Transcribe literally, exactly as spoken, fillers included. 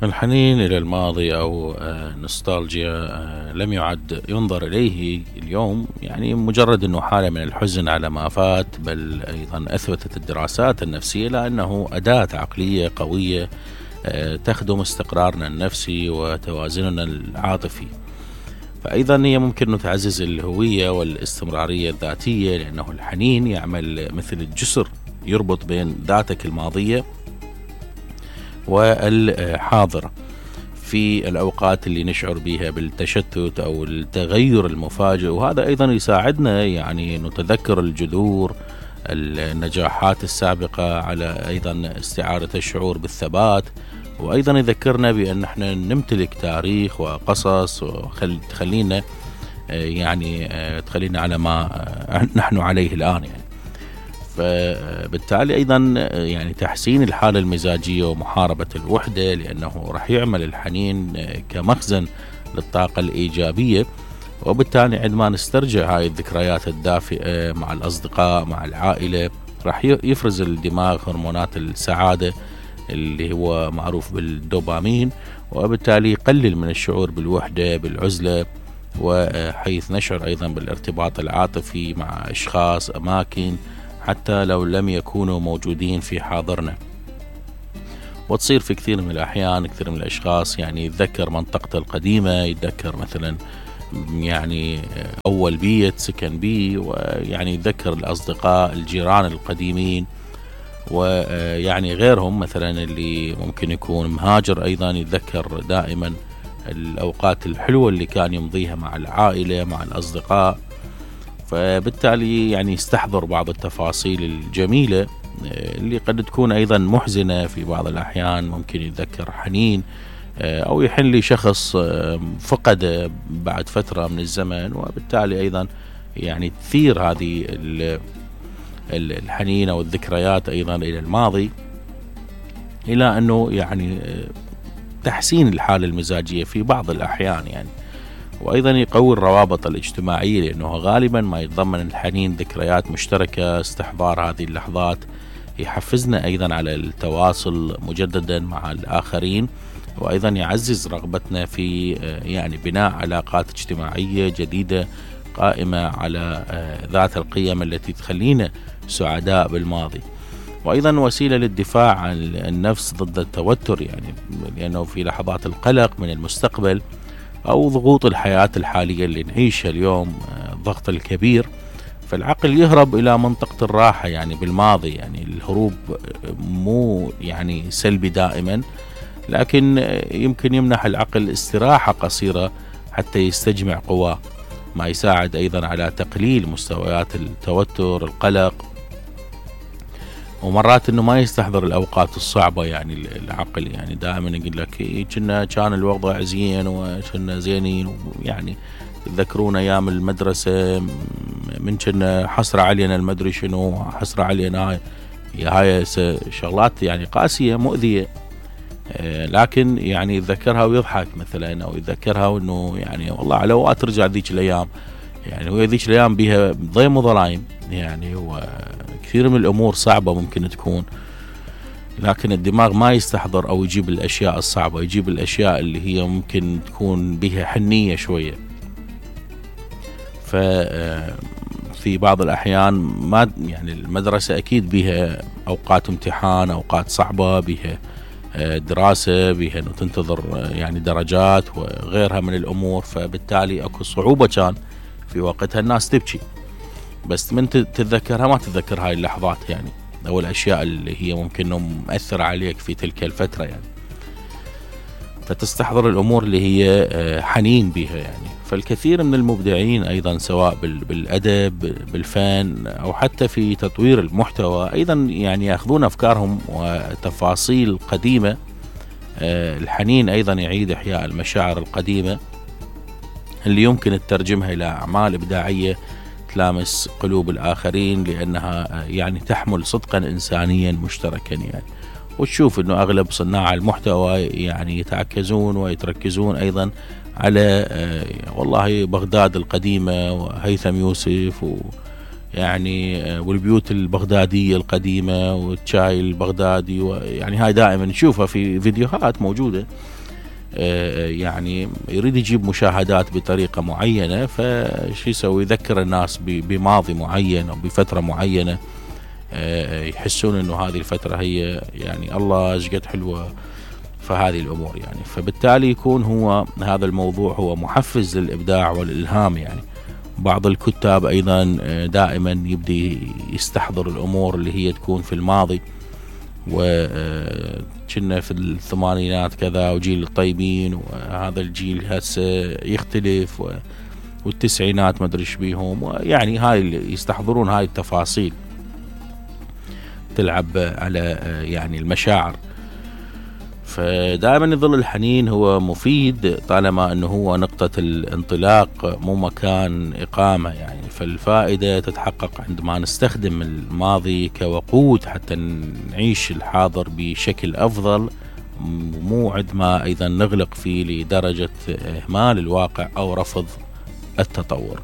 الحنين إلى الماضي أو نوستالجيا لم يعد ينظر إليه اليوم يعني مجرد أنه حالة من الحزن على ما فات، بل أيضا أثبتت الدراسات النفسية لأنه أداة عقلية قوية تخدم استقرارنا النفسي وتوازننا العاطفي. فأيضا هي ممكن أن تعزز الهوية والاستمرارية الذاتية، لأنه الحنين يعمل مثل الجسر يربط بين ذاتك الماضية والحاضرة في الأوقات اللي نشعر بها بالتشتت أو التغير المفاجئ. وهذا أيضا يساعدنا يعني نتذكر الجذور النجاحات السابقة، على أيضا استعادة الشعور بالثبات، وأيضا يذكرنا بأن احنا نمتلك تاريخ وقصص وتخلينا يعني تخلينا على ما نحن عليه الآن يعني. فبالتالي أيضا يعني تحسين الحالة المزاجية ومحاربة الوحدة، لأنه راح يعمل الحنين كمخزن للطاقة الإيجابية، وبالتالي عندما نسترجع هاي الذكريات الدافئة مع الأصدقاء مع العائلة راح يفرز الدماغ هرمونات السعادة اللي هو معروف بالدوبامين، وبالتالي يقلل من الشعور بالوحدة بالعزلة، وحيث نشعر أيضا بالارتباط العاطفي مع أشخاص أماكن حتى لو لم يكونوا موجودين في حاضرنا. وتصير في كثير من الأحيان كثير من الأشخاص يعني يتذكر منطقته القديمة، يتذكر مثلا يعني أول بيت سكن بيه، ويعني يتذكر الأصدقاء الجيران القديمين، ويعني غيرهم مثلا اللي ممكن يكون مهاجر أيضا يتذكر دائما الأوقات الحلوة اللي كان يمضيها مع العائلة مع الأصدقاء. فبالتالي يعني يستحضر بعض التفاصيل الجميلة اللي قد تكون أيضا محزنة في بعض الأحيان. ممكن يتذكر حنين أو يحن لشخص فقد بعد فترة من الزمن، وبالتالي أيضا يعني تثير هذه الحنين أو الذكريات أيضا إلى الماضي، إلى أنه يعني تحسين الحالة المزاجية في بعض الأحيان يعني. وأيضا يقوي الروابط الاجتماعية، لأنه غالبا ما يتضمن الحنين ذكريات مشتركة. استحضار هذه اللحظات يحفزنا أيضا على التواصل مجددا مع الآخرين، وأيضا يعزز رغبتنا في يعني بناء علاقات اجتماعية جديدة قائمة على ذات القيم التي تخلينا سعداء بالماضي. وأيضا وسيلة للدفاع عن النفس ضد التوتر، يعني لأنه في لحظات القلق من المستقبل أو ضغوط الحياة الحالية اللي نعيشها اليوم، الضغط الكبير، فالعقل يهرب إلى منطقة الراحة يعني بالماضي. يعني الهروب مو يعني سلبي دائما، لكن يمكن يمنح العقل استراحة قصيرة حتى يستجمع قواه، ما يساعد أيضا على تقليل مستويات التوتر القلق. ومرات انه ما يستحضر الاوقات الصعبة، يعني العقل يعني دائما يقول لك كنا كان الوضع زين وكنا زينين، يعني تذكرون ايام المدرسة من كنا حسرة علينا المدري شنو حسرة علينا، هاي هاي شغلات يعني قاسية مؤذية، لكن يعني يتذكرها ويضحك مثلا، او يتذكرها وانه يعني والله على وقت ترجع ذيك الايام، يعني هو ذيك الايام بيها ضيم وظلايم يعني، وكثير من الامور صعبة ممكن تكون، لكن الدماغ ما يستحضر او يجيب الاشياء الصعبة، يجيب الاشياء اللي هي ممكن تكون بها حنية شوية. ففي بعض الاحيان ما يعني المدرسة اكيد بها اوقات امتحان، اوقات صعبة، بها دراسة، بها انه تنتظر يعني درجات وغيرها من الامور، فبالتالي اكو صعوبة كان في وقتها الناس تبكي، بس من تتذكرها ما تتذكر هاي اللحظات يعني، او الاشياء اللي هي ممكن انه مؤثرة عليك في تلك الفترة يعني، فتستحضر الامور اللي هي حنين بها يعني. فالكثير من المبدعين ايضا سواء بالادب بالفن او حتى في تطوير المحتوى ايضا يعني ياخذون افكارهم وتفاصيل قديمة. الحنين ايضا يعيد احياء المشاعر القديمة اللي يمكن تترجمها الى اعمال ابداعية تلامس قلوب الآخرين، لأنها يعني تحمل صدقا إنسانيا مشتركا يعني. وتشوف أنه أغلب صناع المحتوى يعني يتعكزون ويتركزون أيضا على والله بغداد القديمة وهيثم يوسف يعني والبيوت البغدادية القديمة والشاي البغدادي، يعني هاي دائما نشوفها في فيديوهات موجودة. يعني يريد يجيب مشاهدات بطريقة معينة، فشي يسوي؟ يذكر الناس بماضي معين أو بفترة معينة، يحسون انه هذه الفترة هي يعني الله ايش قد حلوة. فهذه الامور يعني، فبالتالي يكون هو هذا الموضوع هو محفز للابداع والالهام. يعني بعض الكتاب ايضا دائما يبدي يستحضر الامور اللي هي تكون في الماضي، وكنا في الثمانينات كذا وجيل الطيبين، وهذا الجيل هسه يختلف، والتسعينات ما ادري ايش بيهم، ويعني هاي اللي يستحضرون هاي التفاصيل تلعب على يعني المشاعر. فدائما يظل الحنين هو مفيد طالما انه هو نقطة الانطلاق مو مكان اقامة. يعني فالفائدة تتحقق عندما نستخدم الماضي كوقود حتى نعيش الحاضر بشكل افضل، مو عندما ايضا نغلق فيه لدرجة اهمال الواقع او رفض التطور.